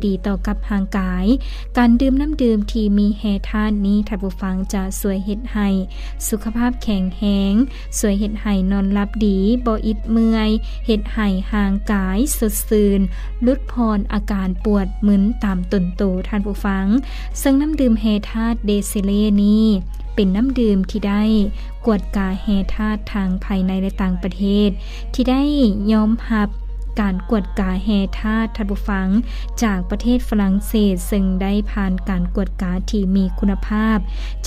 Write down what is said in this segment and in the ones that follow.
ດີຕໍ່ກັບຮ່າງກາຍ. ການດື່ມນ້ຳດື່ມທີ່ມີແຮ່ທາດນີ້ ທ່ານຜູ້ຟັງ, ຈະຊ່ວຍເຮັດໃຫ້ສຸຂະພາບແຂງແຮງ, ຊ່ວຍເຮັດໃຫ້ນອນຫຼັບດີ, ບໍ່ອິດເມື່ອຍ, ເຮັດໃຫ້ຮ່າງກາຍສົດຊື່ນ, ຫຼຸດຜ່ອນອາການປວດມຶນຕາມຕົນໂຕ, ທ່ານຜູ້ຟັງ. ເຊິ່ງນ້ຳດື່ມແຮ່ທາດເດເຊເລນີ້ ເປັນນ້ຳດື່ມທີ່ໄດ້ກວດກາແຮ່ທາດທັງພາຍໃນ ແລະ ຕ່າງປະເທດ, ທີ່ໄດ້ຍອມຮັບການກວດກາແຮ່ທາດ, ທ່ານຜູ້ຟັງ, ຈາກປະເທດຝຣັ່ງເສດ, ເຊິ່ງໄດ້ຜ່ານການກວດກາທີ່ມີຄຸນນະພາບ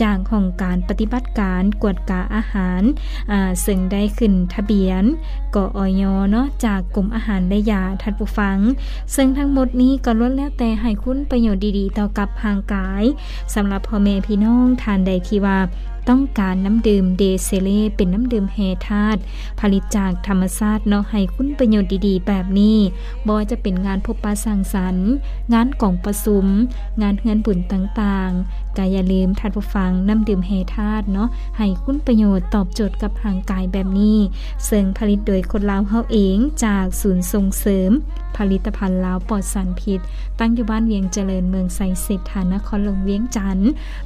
ຈາກຫ້ອງການປະຕິບັດການກວດກາອາຫານ, ອາ, ເຊິ່ງໄດ້ຂຶ້ນທະບຽນ ກອຍ ເນາະ, ຈາກກົມອາຫານ ແລະ ຢາ, ທ່ານຜູ້ຟັງ. ເຊິ່ງທັງໝົດນີ້ກໍລ້ວນແລ້ວແຕ່ໃຫ້ຄຸນປະໂຫຍດດີໆຕໍ່ກັບຮ່າງກາຍ. ສຳລັບພໍ່ແມ່ພີ່ນ້ອງທ່ານໃດທີ່ວ່າຕ້ອງການນ້ຳດື່ມເດເຊເລ ເປັນນ້ຳດື່ມແຮ່ທາດ ຜະລິດຈາກທຳມະຊາດເນາະ, ໃຫ້ຄຸນປະໂຫຍດດີໆແບບນີ້, ບໍ່ວ່າຈະເປັນງານພົບປະສັງສັນ, ງານກອງປະຊຸມ, ງານເຮືອນບຸນຕ່າງໆ, ກໍຢ່າລືມ, ທ່ານຜູ້ຟັງ, ນ້ຳດື່ມແຮ່ທາດເນາະ, ໃຫ້ຄຸນປະໂຫຍດຕອບໂຈດກັບຮ່າງກາຍແບບນີ້, ເຊິ່ງຜະລິດໂດຍຄົນລາວເຮົາເອງ, ຈາກສູນສົ່ງເສີມຜະລິດຕະພັນລາວປອດສານພິດ, ຕັ້ງຢູ່ບ້ານວຽງຈະເລີນ, ເມືອງໄຊເສດຖາ, ນະຄອນຫຼວງວຽງຈັນ.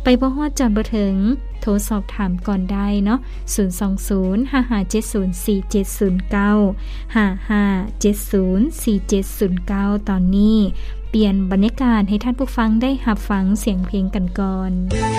ໄປບໍ່ຮອດຈອດບໍ່ເຖິງ, ໂທສອບຖາມກ່ອນໄດ້ເນາະ, ສູນສອງສູນ ຫ້າຫ້າເຈັດສູນ ສີ່ເຈັດສູນເກົ້າ, ຫ້າຫ້າເຈັດສູນ ສີ່ເຈັດສູນເກົ້າ. ຕອນນີ້ປ່ຽນບັນຍາກາດໃຫ້ທ່ານຜູ້ຟັງໄດ້ຮັບຟັງສຽງເພງກັນກ່ອນ.